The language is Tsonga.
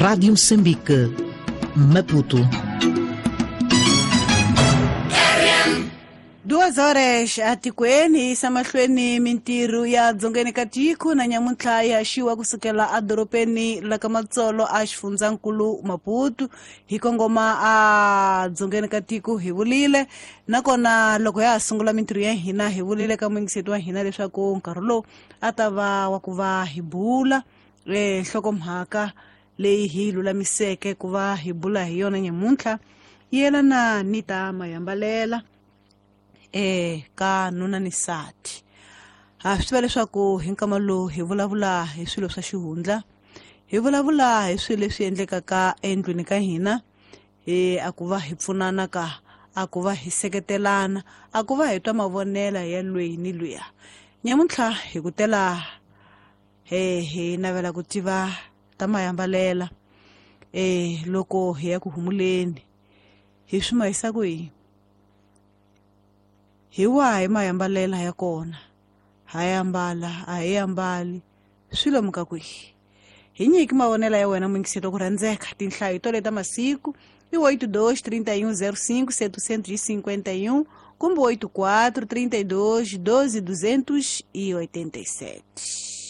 Rádio Moçambique, Maputo. 2 horas atikweni hi yisa mahlweni mintirho ya dzongeni ka tiko na nyamuntlha yi haxiwa kusukela edorobeni la ka Matsolo a xifundzankulu Maputo hi kongoma a dzongeni ka tiko hi vulile nakona loko ya ha sungula mintirho ya hina hi vulile ka muyingiseti wa hina leswaku nkarhi lowu a ta va wa ku va hi bula nhlokomhaka leyi hi lulamiseke ku va hi bula hi yona nyamuntlha yelana ni ta mayambalela ka nuna ni nsati. Ha swi tiva leswaku hi nkama lowu hi vulavula hi swilo swa xihundla, hi vulavula hi swilo leswi endlekaka endlwini ka hina, a ku va hi pfunana ka, a ku va hi seketelana, a ku va hi twa mavonela ya lweyi ni luya. Nyamuntlha hi ku tela hi navela ku tiva ta mayambalela loko hi ya ku humuleni hi swi mahisa ku yini, hi wahi mayambalela ya kona, ha yambala a hi ambali, swi lomu ka kwihi. Hi nyiki mavonela ya wena muyingiseti wa ku rhandzeka. Tinhlayo to leta masiku i 82 31 05 751 kumbe 84 32 12 287.